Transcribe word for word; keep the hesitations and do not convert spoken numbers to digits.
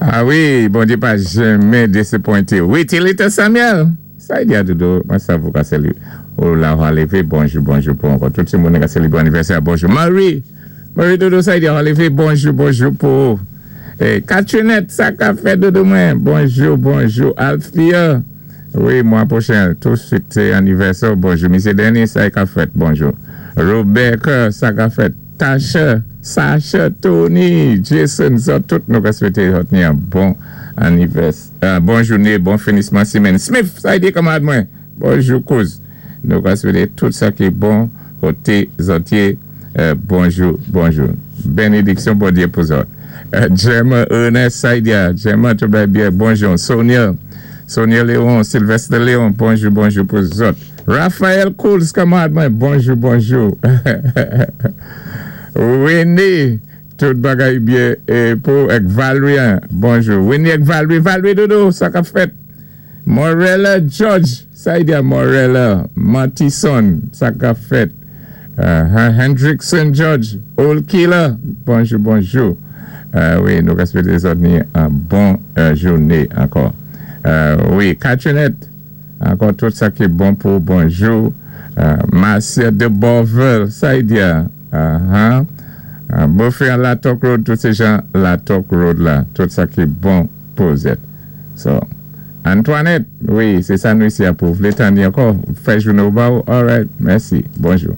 Ah wi, Bondyé pa janmen désapwenté. Wi, Tilita Samuel. Sa i di a dodo, mwen sa vou ka seli. Ou la ou levé, bonjou, bonjou pou ankò. Tout moun ka sélibwé anniversaire, bonjou. Marie, Marie dodo, sa i di a levé, bonjou, bonjou pou. Eh, Katrinette, sa ka fèt dodo mwen. Bonjou, bonjou. Althea, wi, mwa pwochen, toutswit, sé anniversaire, bonjou. Misyé Denis, sa ka fèt, bonjou. Rebecca, sa ka fèt. Tasha, Sasha, Tony, Jason, sa, tout nou ka swété yon bon anniversaire, bon jouné, bon finisman simenn. Smith, sa i di kanmarad mwen. Bonjou, kouz. Nou ka swété tout sa ki bon koté zòt yé. Euh, bonjou, bonjou. Bénédiksyon Bondyé pou zòt. Euh, Gemma Ernest Saidia, Gemma, tout va byen, bonjou. Sonia, Sonia Léon, Sylvester Léon, bonjou, bonjou pou zòt. Raphaël Kouls, kanmarad mwen, bonjou, bonjou. Winnie, tout bagay byen é pou ek Valrien, bonjou. Winnie ek Valerie, Valerie dodo, sa ka fèt. Morella George, sa i di a Morella, Matison, sa ka fèt. Uh, Hendrickson George, Old Killer, bonjou, bonjou. Euh, wi, nou ka swété zòt ni yon bon euh, jouné ankò. Euh, wi, Katrinette, ankò tout sa ki bon pou bonjou. Euh, Marcia de Borvel, sa i di a. Uh-huh. Uh, Beaufait La Toc Road, tout sé jan La Toc Road la, tout sa ki bon pou zòt. So, Antoinette, wi, sé sa nou isi a pou. Vlé tanni ankò, fè jouné ou ba ou? All right, mèsi, bonjou.